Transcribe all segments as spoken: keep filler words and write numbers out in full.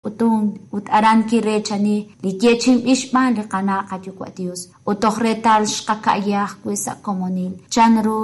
K'utunk ut aran kireechani li yeechi'inb'il xb'aan li Qana' Qayuwa' Dios ut toj reetal xqaka'ya ajwi' sa' komonil chanru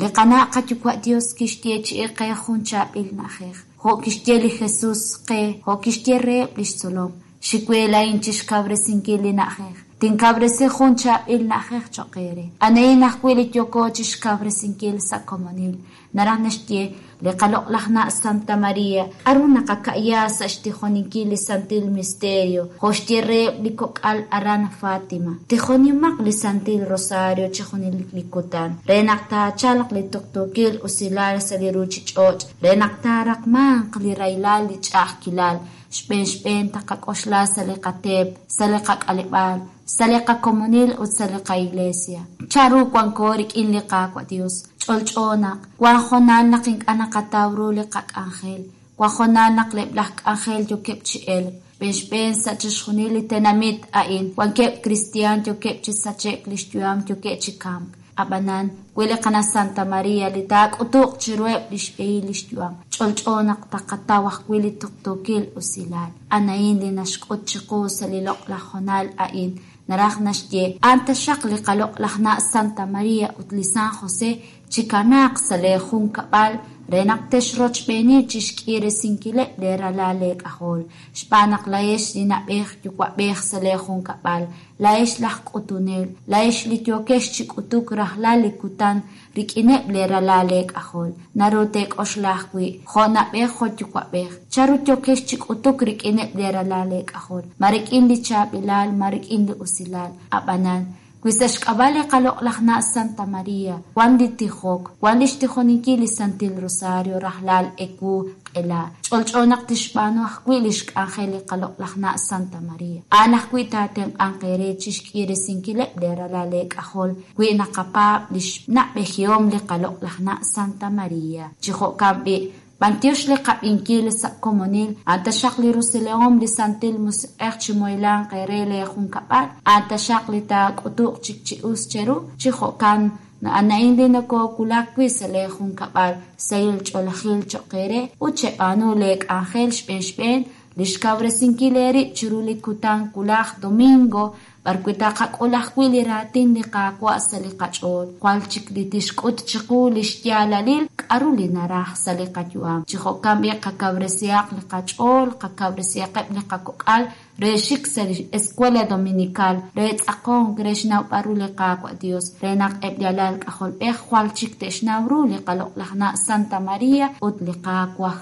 li Qana' Qayuwa' Dios kixyeechi'i qe jun chaab'il na'ajej jo' kixye li Jesus qe jo' kixye reheb' li xtzolom xik we laa'in chixkawresinkil li na'ajej tinkawresi jun chaab'il na'ajej cho'q eere anahin ajwi' li yooko chixkawresinkil sa' komonil naraj naxye li qaloq'laj na' Santa Maria k'aru naqaka'ya sa' xtijoninkil li Santil Misterio jo' xye reheb' li kok'al aran Fatima tijonimaq li Santil Rosario chi junelik li kutan re naq taachalq li tuqtuukil usilal sa' li ruuchich'och' re naq taaraqmanq li rahilal li ch'a'ajkilal xb'een xb'een taqak'oxla sa' li qateep sa' li qak'aleb'aal sa' li qakomonil ut sa' li qaiglesia chanru wanko rik'in li Qaawa' Dios ch'olch'o naq wan hoonal naq ink'a' naqataw ru li qak'anjel wan hoonal naq eb' laj k'anjel yookeb' chi elk xb'een xb'een sa' chixjunil li tenamit a'in wankeb' kristiaan yookeb' chi sache'k li xyu'am yookeb' chi kamk ab'anan wi li Qana' Santa Maria li taak'utuq chiruheb' li xb'ehil li xyu'am ch'olch'o naq taqataw ajwi' li tuqtuukil usilal anahin li naxk'ut chiqu sa' li loq'laj hoonal a'in naraj naxye a'an taxaq li qaloq'laj na' Santa Maria ut li San José chikanaaq sa' lee junkab'al re naq texrochb'eeni chixk'iresinkileb' lee ralal leek'ajol xb'aan naq laa'ex li na'b'ej yuwa'b'ej sa' lee junkab'al laa'ex laj k'utunel laa'ex li yookex chi k'utuk rajlal li kutan rik'ineb' lee ralal leek'ajol naru teek'oxla ajwi' jo' na'b'ej jo' yuwa'b'ej chanru yookex chi k'utuk rik'ineb' lee ralal leek'ajol ma rik'in li chaab'ilal ma rik'in li usilal ab'anan wi sa' xk'ab'a' li qaloq'laj na' Santa Maria wan li tijok wan li xtijoninkil li Santil Rosario rajlal ewu q'ela ch'olch'o naq tixb'aanu ajwi' li xk'anjel li qaloq'laj na' Santa Maria a'an ajwi' taatenq'anq eere chixk'iresinkileb' lee ralal leek'ajol wi naqapaab' li xna'b'ejihom li qaloq'laj na' Santa Maria chi jo'kan b'i' b'antiox li qab'inkil sa' komonil a'an taxaq li rusilahom li Santil Musiq'ej chi moylanq eere lee junkab'al a'an taxaq li taak'utuq chik chi us cheru chi jo'kan a'an li nokowulak wi' sa' lee junkab'al sahil ch'oolejil cho'q eere ut cheb'aanu lee k'anjel xb'een xb'een li xkawresinkil eerib' chiru li kutan wulaj domingo b'arwi' taqak'ul ajwi' li raatin li Qaawa' sa' li qach'ool jwal chik li tixk'ut chiqu li xyaalalil k'aru li naraj sa' li qayu'am chi jo'kan b'i' qakawresihaq li qach'ool qakawresihaqeb' li qakok'al re xik sa' li Escuela Dominical re tz'aqonk re xnawb'al ru li Qaawa' Dios re naq eb' li alal k'ajolb'ej jwal chik te'xnaw ru li qaloq'laj na' Santa Maria ut li Qaawa'